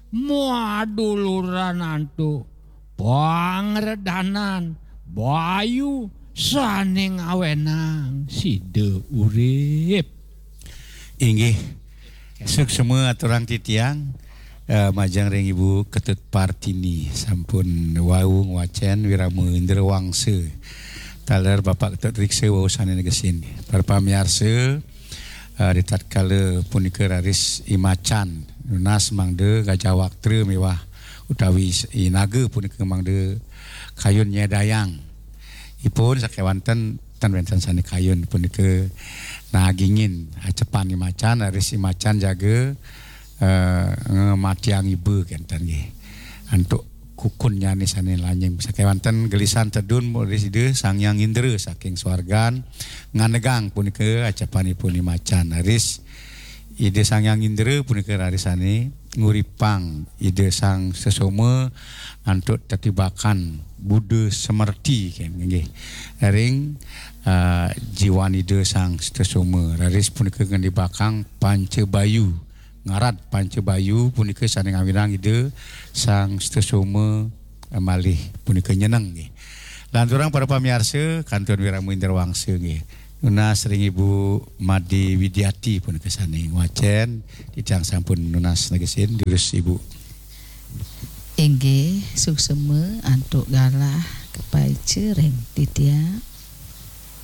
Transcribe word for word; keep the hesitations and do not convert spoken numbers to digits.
Maduluran antuk pangredanan bayu sané ngawénang sida urip. Inggih. Suksma aturang titiang, eh, majeng ring Ibu Ketut Partini, sampun wau ngwacén Wirama Indra Wangsa. Taler Bapak Ketut Riksa wau sané negesin. Para pamiarsa, eh, di tatkala punika raris imacan, nunas mangda Gajah Waktra miwah utawi s-, i naga punika mangda kayun nyedayang. Ipun sakéwanten tan wénten sané kayun punika nagingin, acepan imacan, raris imacan jaga, eh, ngamatiang iba kénten nggih. Antuk kukunnyané sané lanying. Sakéwanten gelisan tedun raris Ida Sang Hyang Indra saking swargan nganegang punika acepanipun imacan. Raris Ida Sang Hyang Indra punika raris sané nguripang Ida Sang Sesoma antuk tetibakan Buddha semerti, kan, nggih. Ring, eh, jiwan Ida Sang Sesoma. Raris punika ngenibakang Panca Bayu. Ngarat Panca Bayu punika sané ngawinang Ida Sang Sesoma, eh, malih punika nyeneng, nggih. Lanturang para pamiarsa, kantun Wirama Indra Wangsa, nggih. Nunas ring Ibu Made Widiati punika sané ngwacén, titiang sampun nunas negesin, durus Ibu. Inggih, suksma antuk galah kapaica ring titiang.